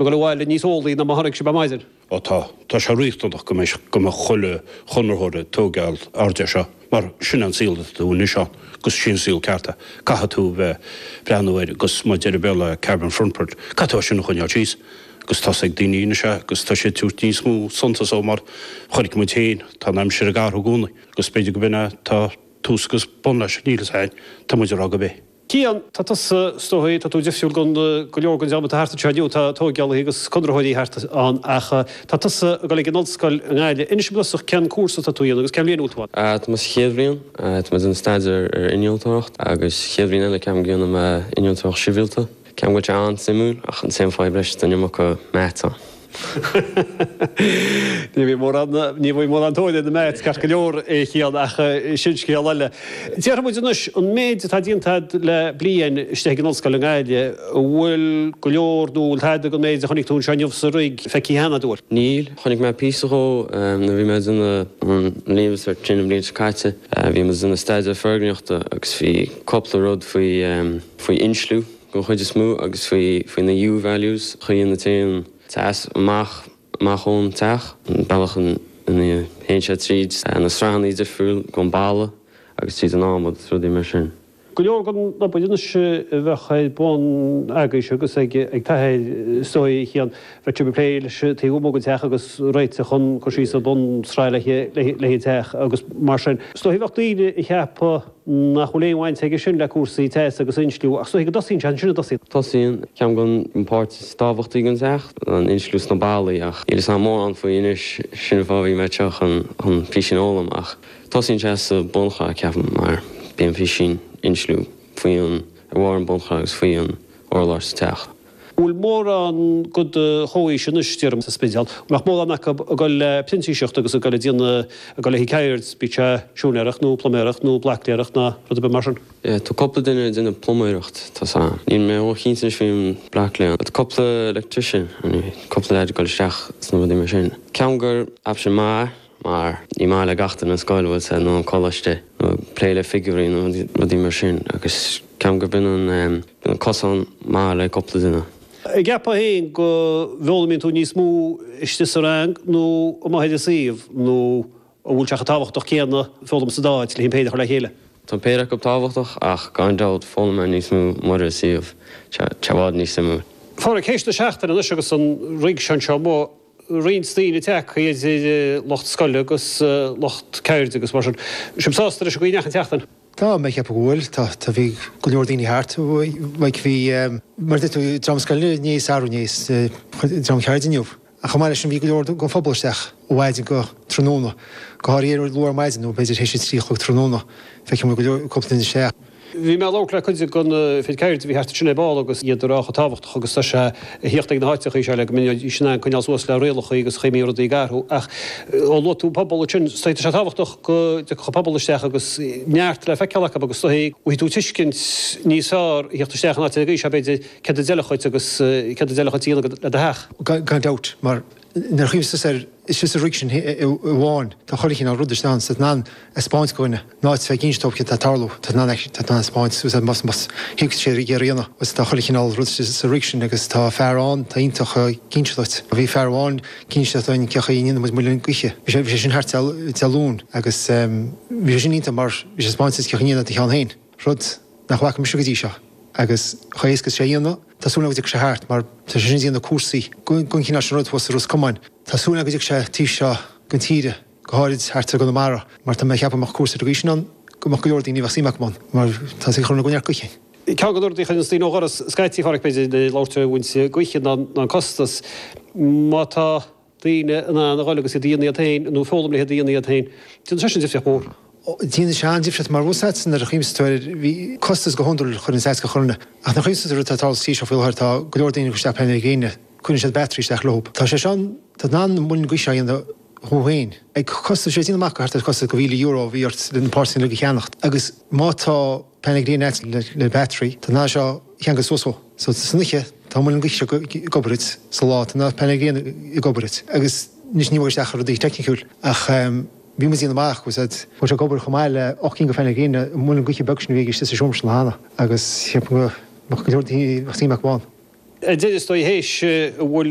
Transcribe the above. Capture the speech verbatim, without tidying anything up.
ag dul abhaile níos eolaí ná mar a tháinig sibh ar maidin. Ó tá, tá sé riachtanach go mbeidh go mbeadh chuile chonraitheoir ag tógáil aird air seo, mar sin an saol atá tú anois ann, agus sin an saol ceart é. Caithfidh tú bheith breathnú air agus mar a deir an Béarla carbon footprint, caithfidh tú é sin a choinneáil síos. Agus tá a fhios ag daoine anois é agus tá siad ag tabhairt níos mó suntas dó mar chonaic muid féin, tá an aimsir ag athrú i gcónaí agus b'fhéidir go b'in é tá tús agus bun leis, níl fhios a'inn, tá muid ag rá gurb é. Cian, tá tusa, is dóigh, tá tú difriúil gon go leor gon dream atá thart anseo inniu, tá tógálaithe agus conraitheoirí thart ann ach tá tusa ag dul ag an ollscoil i nGaillimh. Inis dom i dtosach cén cúrsa atá tú a dhéanamh agus cén bhliain a bhfuil tú ann? Tá mé sa chéad bhliain, tá mé ag déanamh staidéar ar innealtóireacht agus chéad bhliain eile ceapaim go ndéanfaidh mé innealtóireacht sibhialta. Ceapaim go bhfuil sé an-suimiúil ach an t-aon fadhb leis tá an iomarca maths ann. Ní bhíonn mórán, ní bhíonn mórán tóir ar na maths ceart go leor a Chian ach sin scéal eile. Déarfaidh muid anois, an méid atá déanta agat le bliain istigh ag an ollscoil i nGaillimh, an bhfuil go leor nó bhfuil tada den méid a chonaic tú anseo inniu sa rig feicthe cheana agat? Níl. Chonaic mé píosa dhó nuair a bhí mé ag déanamh an Leaving Cert sin an bhliain seo caite. Bhí muid ag déanamh staidéar foirgníochta agus bhí cúpla rud faoi faoi insliú den chuid is mó agus faoi faoi na U-values, chaoi ina dtéann teas amach amach ón teach, an bealach ina théann sé tríd na sraitheanna difriúil den balla agus tríd an adhmad is rudaí mar sin. Go leor den obair anois a bheadh ar bun agaibhse agus ag t'athair is dóigh a Chian, bheadh sibh ag plé leis an taobh amuigh den teach agus réiteach chun cur síos an bhunsraith le haghaidh an teach agus mar sin. Is dóigh bheadh daoine a cheapfadh nach bhfuil aon bhaint aige sin le cúrsaí teasa agus insliú, ach is dóigh go dtosaíonn sé ansin a dtosaíonn. Tosaíonn, ceapaim gur an páirt is tábhachtaí den teach, an insliú sna ballaí, ach níl fhios a'm mórán faoi anois, sin an fáth a bhí mé anseo chun chun písín a fhoghlaim, ach tosaíonn sé sa bunshraith, ceapaim, mar bíonn písín insliú faoi an, ar bharr an bunshraith agus faoi an urlár sa teach. Bhfuil mórán de do chomhaois anois, déarfainn, sa Spidéal, an mbeadh mórán acu ag dul le printíseacht agus ag dul ag déanamh, ag dul le haghaidh ceird, bíodh sé siúinéireacht nó pluiméireacht nó blacléireacht ná rud ar bith mar sin? Yeah, tá cúpla duine ag déanamh pluiméireacht, tá 's a'm. Níl mé ró-chinnte anois faoin blacléir. Tá cúpla electrician, cúpla leaid ag dul isteach sna rudaí mar sin. Ceapaim gur option maith mar ní maith le gach duine an scoil, bhfuil 's a'd, nó an coláiste, nó plé le figiúirí nó rudaí mar sin agus ceapaim gur b'in an, b'in an cosán maith le cúpla duine. An gceapfá féin go bhfoghlaimíonn tú níos mó istigh sa rang nó amuigh ar an suíomh nó an bhfuil sé chomh tábhachtach céanna foghlaim sa dá áit le an péire a chur le chéile? Tá an péire acu tábhachtach ach gan dabht foghlaim mé níos mó amuigh ar an suíomh, tá sé i bhfad níos suimiúil. A Pháraic, théis na seachtaine anois agus an rig seo anseo amuigh, roinnt daoine tagtha idir lucht scoile agus lucht ceirde agus mar sin. Sibh sásta leis an gcaoi a ndeachaigh an tseachtain? Tá mé ag ceapadh go bhfuil. Tá, tá, bhí go leor daoine thart. Like bhí, mar a deir tú, dream scoile inné is arú inné is dream ceirde inniu. Ach chomh maith leis sin bhí go leor den phobal isteach ó mhaidin go tráthnóna, go háirithe luath ar maidin nó b'fhéidir théis a trí a chlog tráthnóna. Feicim go leor, cúpla duine isteach. Bhí mé ag labhairt le cuid de na fir ceirde a bhí thart ansin ar ball agus iad ag rá chomh tábhachtach agus tá sé a thíocht ag na háiteachaí seo le go mbeidís in ann coinneáil suas le rialachaí agus chaoi a mbíonn rudaí ag athrú. Ach ó luaigh tú an pobal ansin, tá sé tábhachtach go dtiocfadh an pobal isteach agus neart le feiceáil acu agus is dóigh go bhfaighidh tú tuiscint níos fearr a thíocht isteach in áit ar an gcaoi seo b'fhéidir céard a d'fheilfeadh dhuit agus céard a d'fheilfeadh dhuit a dhéanamh le do theach. Gan dabht, mar nuair a chuimhníos air, istigh sa rig sin amháin, tá chuile chineál rud istigh ann, tá tú in ann a 'speáint do dhuine, in áit bheith ag inse dóibh céard atá ag tarlú, tá tú in ann tá tú in ann a 'speáint suas air más más thuig sé ar a dhéanamh, agus tá chuile chineál rud istigh sa rig sin agus tá fear ann tá iontach ag inse duit. Bhí fear amháin ag inse dúinn cén chaoi a ndéanann muid muileann gaoithe. Bhí sé bhí sé sin thart Dé Luain agus bhí sé sin iontach mar bhí sé ag 'speáint duit cén chaoi a ndéanann do cheann féin, rud nach bhfaca mise go dtí seo agus chomh héasca is sé a dhéanamh. Tá súil agam go dtiocfaidh sé thart mar tá sé sin ag déanamh cúrsaí den chineál sin rud thuas i Ros Comáin. Tá súil agam go dtiocfaidh sé taobh seo den tíre, go háirid thart ar gConamara, mar tá mé ag ceapadh go mbeadh cúrsa ar an gcaoi sin ann go mbeadh go leor daoine a bheadh suim acu ann mar tá sé ag cur ina gcoinne gaoithe. Ceann de na rudaí a chuireanns daoine ó dhoras scaití, a Pháraic, b'fhéidir, ag labhairt ar bhaint gaoithe ná an costas. Má tá daoine in ann a dhul agus iad a dhéanamh iad féin nó foghlaim le hiad a dhéanamh iad féin. Déanann sé sin difríocht mhór. Déanann sé an-difríocht mar bhfuil 's a't nuair a chuimsíonn tú air, bhí costas go hiondúil chuir an seasca chorna ach nuair a chuimsíonn tú ar rud atá ag tarlú sa tír seo faoi láthair tá go leor daoine ag cur isteach painéil gréine, cuireann siad battery isteach leo. Tá sé seo, tá tú in ann an muileann gaoithe seo a dhéanamh thú féin. Ag costas, sé déanamh amach go thart ar costas go mhíle euro a bhí ort le na páirteanna uilig a cheannacht agus má tá painéil gréine a't le le battery, tá tú in ann seo a cheangal suas dhó. So san oíche tá an muileann gaoithe seo ag obair duit, sa lá tá na painéil gréine ag obair duit agus anois ní bhfuil isteach ar rudaí teicniciúil ach bhí muid ag déanamh amach go bhfuil sé ag obair chomh maith le ocht gcinn de phainéil gréine an muileann gaoithe beag sin a bhí istigh sa seomra sin cheana agus cheap go mbeadh go leor daoine bheadh suim acu ann. Ar deireadh is dóigh théis bhfuil